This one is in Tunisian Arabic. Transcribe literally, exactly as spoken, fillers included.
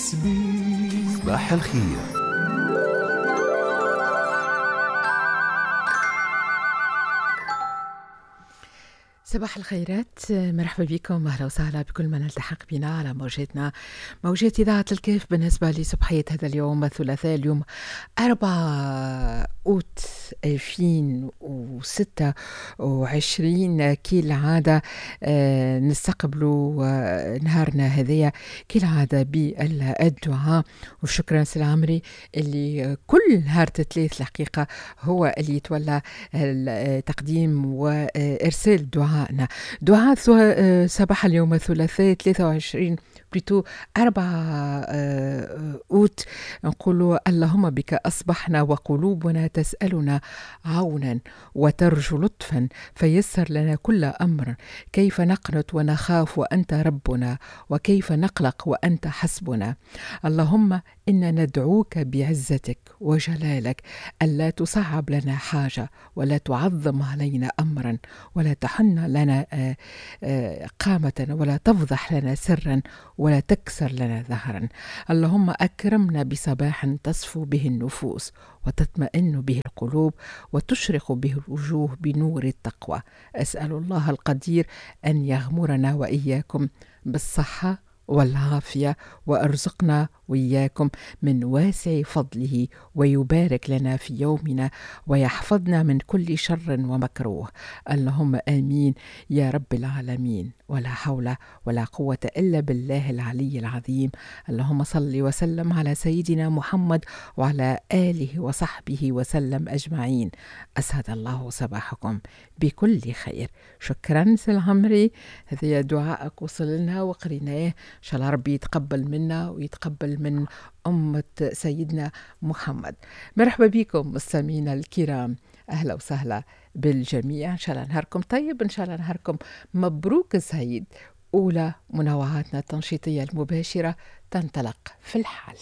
تونس بيك. صباح الخير. صباح الخيرات، مرحبا بكم، اهلا وسهلا بكل من التحق بنا على موجاتنا، موجات اذاعة الكاف. بالنسبة لصبحيه هذا اليوم الثلاثاء، اليوم أربعة اوت ألفين وستة وعشرين، كالعادة آه، نستقبلوا آه، نهارنا هذايا كالعادة بالدعاء. وشكرا سي العمري اللي كل نهار ثلاث الحقيقة هو اللي يتولى تقديم وارسال دعاء. دعاء صباح اليوم الثلاثاء ثلاثة وعشرين plutôt أربعة أوت، نقول اللهم بك أصبحنا وقلوبنا تسألنا عونا وترجو لطفا، فيسر لنا كل أمر. كيف نقنط ونخاف وأنت ربنا، وكيف نقلق وأنت حسبنا. اللهم إنا ندعوك بعزتك وجلالك ألا تصعب لنا حاجة، ولا تعظم علينا أمرا، ولا تحن لنا قامة، ولا تفضح لنا سرا، ولا تكسر لنا ظهرا. اللهم أكرمنا بصباح تصفو به النفوس، وتطمئن به القلوب، وتشرق به الوجوه بنور التقوى. أسأل الله القدير أن يغمرنا وإياكم بالصحة والعافية، وأرزقنا وإياكم من واسع فضله، ويبارك لنا في يومنا، ويحفظنا من كل شر ومكروه. اللهم آمين يا رب العالمين. ولا حول ولا قوة إلا بالله العلي العظيم. اللهم صل وسلم على سيدنا محمد وعلى آله وصحبه وسلم أجمعين. أسعد الله صباحكم بكل خير. شكرا سي العمري، هذا دعائك وصل لنا وقريناه، إن شاء الله ربي يتقبل منا ويتقبل من أمة سيدنا محمد. مرحبا بكم مستمعينا الكرام، أهلا وسهلا بالجميع. إن شاء الله نهاركم طيب، إن شاء الله نهاركم مبروك سعيد. أولى منوعاتنا التنشيطية المباشرة تنطلق في الحال.